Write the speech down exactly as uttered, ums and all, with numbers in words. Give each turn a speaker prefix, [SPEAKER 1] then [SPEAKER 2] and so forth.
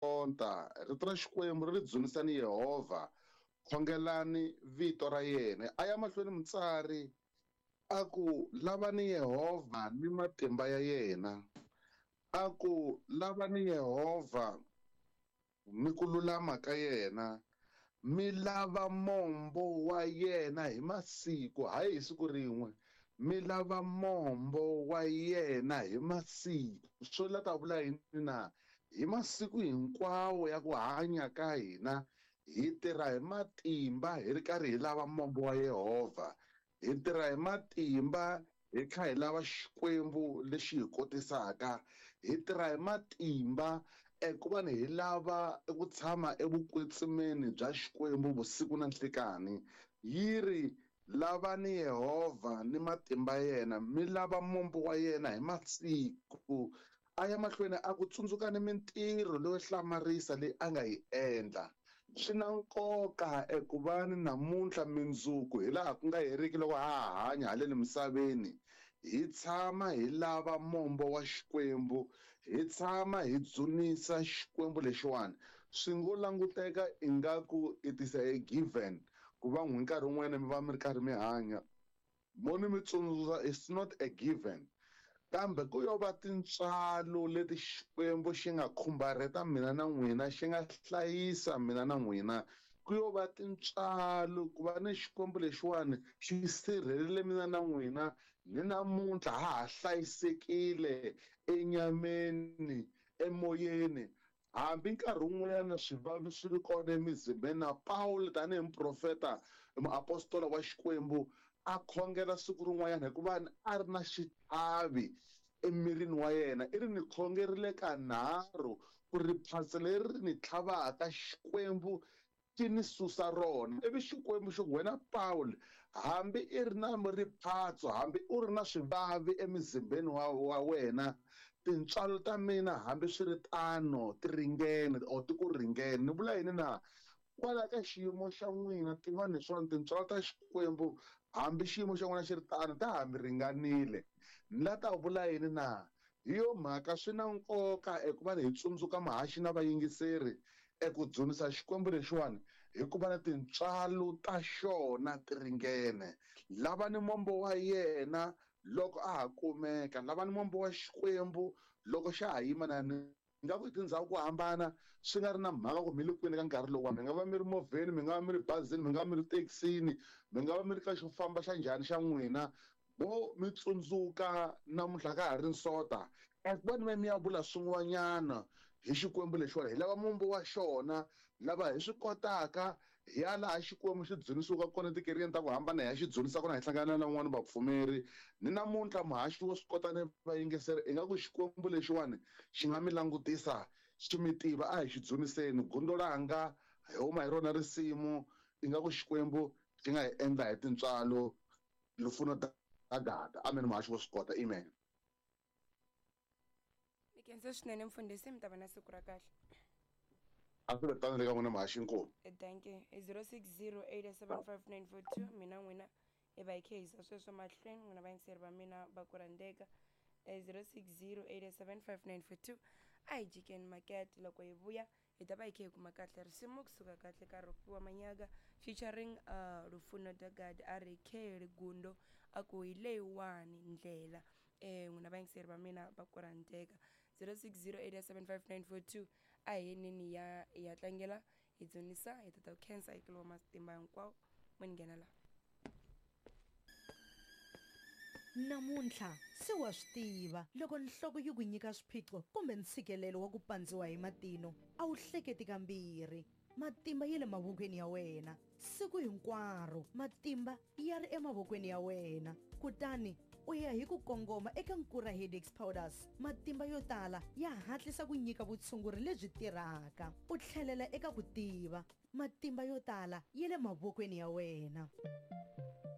[SPEAKER 1] Sonta rito ra Xikwembu ri ri dzunisani Yehovha, khongelani vito ra yena. A ya mahlweni mutsari a ku lavani Yehovha ni matimba ya yena, a ku lavani Yehovha ni ku lulama ka yena, mi lava mombo wa yena hi masiku, hayi hi siku rin'we, mi lava mombo wa yena hi masiku. Swo la ta vula yini na? Hi masiku hinkwawo ya ku hanya ka hina hi tirha hi matimba hi ri karhi hi lava mombo wa Yehovha, hi tirha hi matimba hi kha hi lava Xikwembu lexi hi kotisaka, hi tirha hi matimba eku va ni hi lava ku tshama evukwetsimeni bya Xikwembu vusiku na nhlikani. Yi ri lavani Yehovha ni matimba yena, mi lava mombo wa yena hi masiku. A ya mahlweni a ku tsundzukani mintirho leyo hlamarisa leyi a nga yi endla. Swi na nkoka eku va ni namuntlha mindzuku hi laha ku nga heriki loko ha ha hanya haleni misaveni, hi tshama hi lava mombo wa Xikwembu, hi tshama hi dzunisa Xikwembu lexiwani. Swi ngo languteka ingaku it is a given ku va n'wi nkarhi wun'wana mi va mi ri karhi mi hanya, mo ni mi tsundzuxa it's not a given, kambe ku yo va tintswalo leti Xikwembu xi nga khumbarheta mina na n'wina, xi nga hlayisa mina na n'wina. Ku yo va tintswalo ku va ni Xikwembu lexiwani xi sirhelele mina na n'wina, ni namuntlha ha ha hlayisekile enyameni, emoyeni. Hambi nkarhi wun'wanyana swivavi swi ri kona emizimbeni, na Pawulo tanihi muprofeta, muapostola wa Xikwembu, a khongela siku rin'wanyana hikuva a ri na xitlhavi emirini wa yena. I ri ni khongerile kanharhu ku ri phatsa leri ri ni tlhavaka Xikwembu xi ni susa rona. Ivi Xikwembu xi ku, wena Pawulo, hambi i ri na riphatso, hambi u ri na swivavi emizimbeni wa, wa wena, tintswalo ta mina hambi swi ri tano ti ringene or ti ku ringene. Ni vula yini na? Kwala ka xiyimo xa n'wina tivani leswaku tintswalo ta Xikwembu hambi xiyimo xa n'wina xi ri tano ta ha mi ringanile. Ni la ta vula yini na? Hi yo mhaka swi na nkoka eku va hi tsundzuka mahaxi na vayingiseri eku dzunisa Xikwembu lexiwani, hikuva na tintswalo ta xona ti ringene. Lavani mombo wa yena loko a ha kumeka, lavani mombo wa Xikwembu loko xa ha yima na ni nga ku tindhawu ku hambana, swi nga ri na mhaka ku mi le kwini ka nkarhi lowu. Mi nga va mi ri movheni, mi nga va mi ri bazini, mi nga va mi ri thekisini, mi nga va mi ri ka xo famba xa njhani xa n'wina, mo mi tsundzuka namuntlha ka ha ri nsota eku va ni va mi ya vula swin'wanyana hi Xikwembu lexiwani. Hi lava mombo wa xona, lava hi swi kotaka hi ya laha Xikwembu xi dzunisiwaka kona etikerekeni ta ku hambana, hi ya xi dzunisa kona, hi hlangana na van'wani vapfumeri. Ni namuntlha muhaxi wo swi kota ni vayingiseri ingaku Xikwembu lexiwani xi nga mi langutisa xi mi tiva. A hi xi dzuniseni gundo langa, hi huma hi rona risimu, ingaku Xikwembu xi nga hi endla hi tintswalo. Lufuno Dagada. Amen. Muhaxi wo swi kota. Amen.
[SPEAKER 2] Mi khensa swinene mfundhisi, mi ta va na siku ra kahle.
[SPEAKER 1] A swi ve tano le ka n'wina muhaxi nkulu.
[SPEAKER 2] Thank you. zero six zero eight seven five nine four two mina n'wina hi va hi kha hi yisa sweswo mahlweni, n'wina vayingiseri va mina va ku rhandzeka. zero six zero eight seven five nine four two. A hi jikeni makete, loko hi vuya hi ta va hi kha hi kuma kahle risimu kusuka kahle ka Rofhiwa Manyaga featuring uh, Lufuno Dagad a ri Kheli Gundo a ku hi leyiwani ndlela. Eh n'wina vayingiseri va mina va ku rhandzeka. zero six zero eight seven five nine four two. A hi yeneni ya ya tlangela hi dzunisa hi tata ku khensa hi kilo matimba hinkwawo mo ni nghena laha.
[SPEAKER 3] Namuntlha se wa swi tiva loko nhloko yi ku nyika swiphiqo kumbe ntshikelelo wa ku pandziwa hi matino, a wu hleketi kambirhi. Matimba ya le mavokweni ya wena siku hinkwaro, matimba ya ri emavokweni ya wena. Kutani u ya hi ku kongoma eka Nkura Headaches Powders. Matimba yo tala ya hatlisa ku nyika vutshunguri lebyi tirhaka, u tlhelela eka ku tiva. Matimba yo tala ya le mavokweni ya wena.